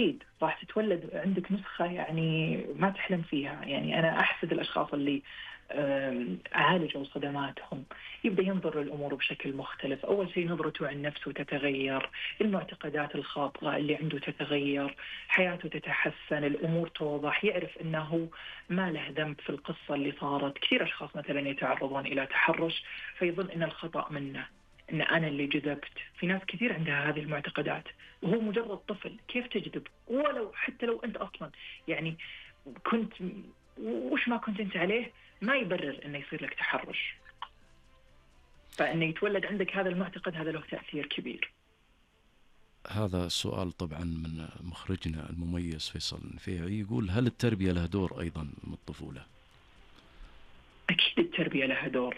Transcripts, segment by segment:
أكيد راح تتولد عندك نسخة يعني ما تحلم فيها. يعني أنا أحسد الأشخاص اللي عالجوا صدماتهم. يبدأ ينظر للأمور بشكل مختلف. أول شيء نظرته عن نفسه تتغير، المعتقدات الخاطئة اللي عنده تتغير، حياته تتحسن، الأمور توضح، يعرف أنه ما له ذنب في القصة اللي صارت. كثير أشخاص مثلا يتعرضون إلى تحرش فيظن أن الخطأ منه، أن أنا اللي جذبت. في ناس كثير عندها هذه المعتقدات وهو مجرد طفل. كيف تجذب؟ ولو حتى لو أنت أصلا يعني كنت وش ما كنت أنت عليه، ما يبرر أنه يصير لك تحرش. فأنه يتولد عندك هذا المعتقد هذا له تأثير كبير. هذا السؤال طبعا من مخرجنا المميز فيصل النفيعي، يقول هل التربية لها دور أيضا من الطفولة؟ أكيد التربية لها دور.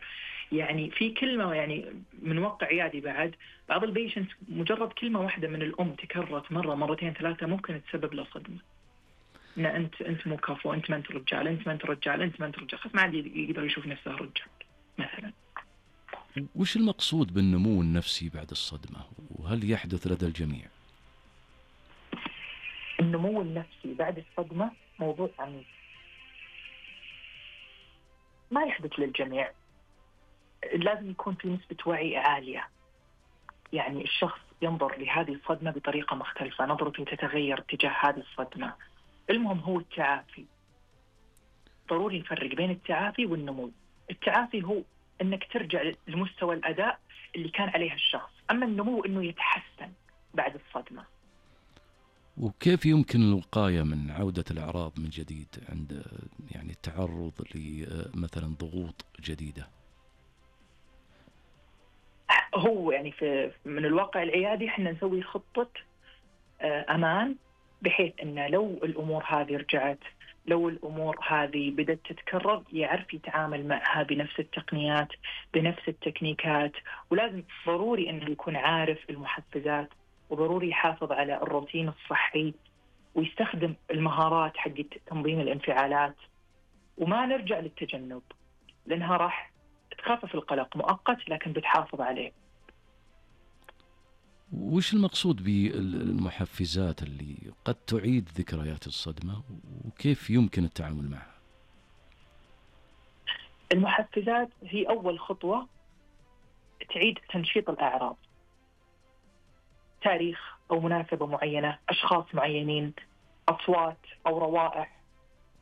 يعني في كلمة يعني من واقع عيادي بعض البيشنت مجرد كلمة واحدة من الأم تكررت مرة مرتين ثلاثة ممكن تسبب له صدمة. إن أنت مو كفو، أنت ما أنت رجال، أنت ما أنت رجال، أنت ما أنت رجال، خلاص ما عاد يقدر يشوف نفسه رجال مثلا. وش المقصود بالنمو النفسي بعد الصدمة، وهل يحدث لدى الجميع؟ النمو النفسي بعد الصدمة موضوع عميق، ما يحدث للجميع. لازم يكون في نسبة وعي عالية. يعني الشخص ينظر لهذه الصدمة بطريقة مختلفة، نظرته تتغير تجاه هذه الصدمة. المهم هو التعافي. ضروري نفرق بين التعافي والنمو. التعافي هو أنك ترجع لمستوى الأداء اللي كان عليه الشخص، أما النمو أنه يتحسن بعد الصدمة. وكيف يمكن الوقاية من عودة الأعراض من جديد عند يعني التعرض لمثلا ضغوط جديدة؟ هو يعني من الواقع العيادي احنا نسوي خطة أمان، بحيث أن لو الأمور هذه رجعت، لو الأمور هذه بدأت تتكرر، يعرف يتعامل معها بنفس التقنيات بنفس التكنيكات. ولازم ضروري أنه يكون عارف المحفزات، وضروري يحافظ على الروتين الصحي، ويستخدم المهارات حق تنظيم الانفعالات، وما نرجع للتجنب لأنها راح تخفف القلق مؤقت لكن بتحافظ عليه. وش المقصود بالمحفزات اللي قد تعيد ذكريات الصدمة، وكيف يمكن التعامل معها؟ المحفزات هي أول خطوة تعيد تنشيط الأعراض. تاريخ أو مناسبة معينة، أشخاص معينين، أصوات أو روائح،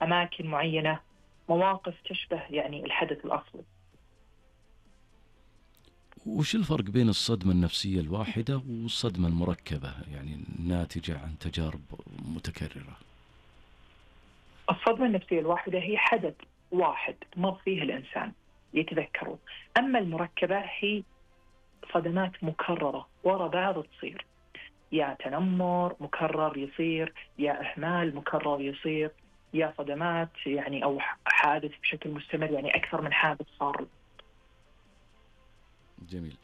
أماكن معينة، مواقف تشبه يعني الحدث الأصلي. وش الفرق بين الصدمة النفسية الواحدة والصدمة المركبة، يعني الناتجة عن تجارب متكررة؟ الصدمة النفسية الواحدة هي حدث واحد مر فيه الإنسان يتذكره. أما المركبة هي صدمات مكررة وراء بعض تصير، يا تنمر مكرر يصير، يا إهمال مكرر يصير، يا صدمات يعني أو حادث بشكل مستمر، يعني أكثر من حادث صار. جميل.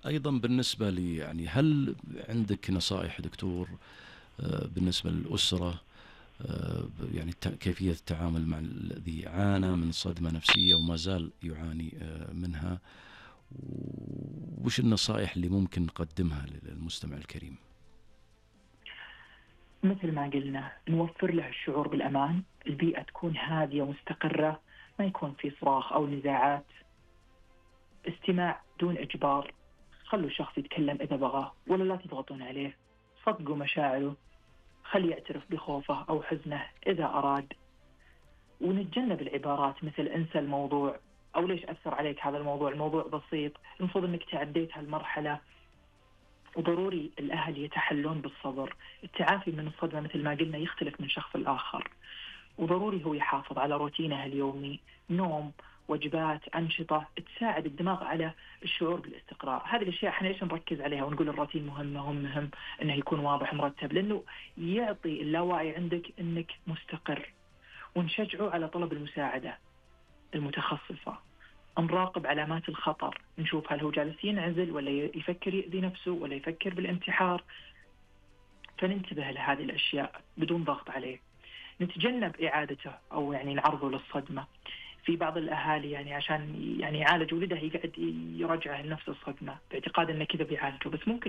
أيضا بالنسبة لي يعني هل عندك نصائح دكتور بالنسبة للأسرة يعني كيفية التعامل مع الذي عانى من صدمة نفسية وما زال يعاني منها، وش النصائح اللي ممكن نقدمها للمستمع الكريم؟ مثل ما قلنا نوفر له الشعور بالأمان، البيئة تكون هادية ومستقرة، ما يكون في صراخ أو نزاعات، استماع دون إجبار، خلوا الشخص يتكلم إذا بغى ولا لا تضغطون عليه، صدقوا مشاعره، خلي يعترف بخوفه أو حزنه إذا أراد. ونتجنب العبارات مثل انسى الموضوع أو ليش أثر عليك هذا الموضوع، الموضوع بسيط، المفروض أنك تعديت هالمرحلة. وضروري الأهل يتحلون بالصبر. التعافي من الصدمة مثل ما قلنا يختلف من شخص لآخر، وضروري هو يحافظ على روتينه اليومي، نوم، وجبات، أنشطة تساعد الدماغ على الشعور بالاستقرار. هذه الأشياء احنا ليش نركز عليها ونقول الروتين مهم أنه يكون واضح مرتب، لأنه يعطي اللاوعي عندك أنك مستقر. ونشجعه على طلب المساعدة المتخصصة، نراقب علامات الخطر، نشوف هل هو جالس ينعزل ولا يفكر يؤذي نفسه ولا يفكر بالانتحار، فننتبه لهذه الأشياء بدون ضغط عليه. نتجنب إعادته أو يعني نعرضه للصدمة. في بعض الأهالي يعني عشان يعني يعالج ولده يقعد يرجعه لنفس الصدمة باعتقاد أنه كذا بيعالجه، بس ممكن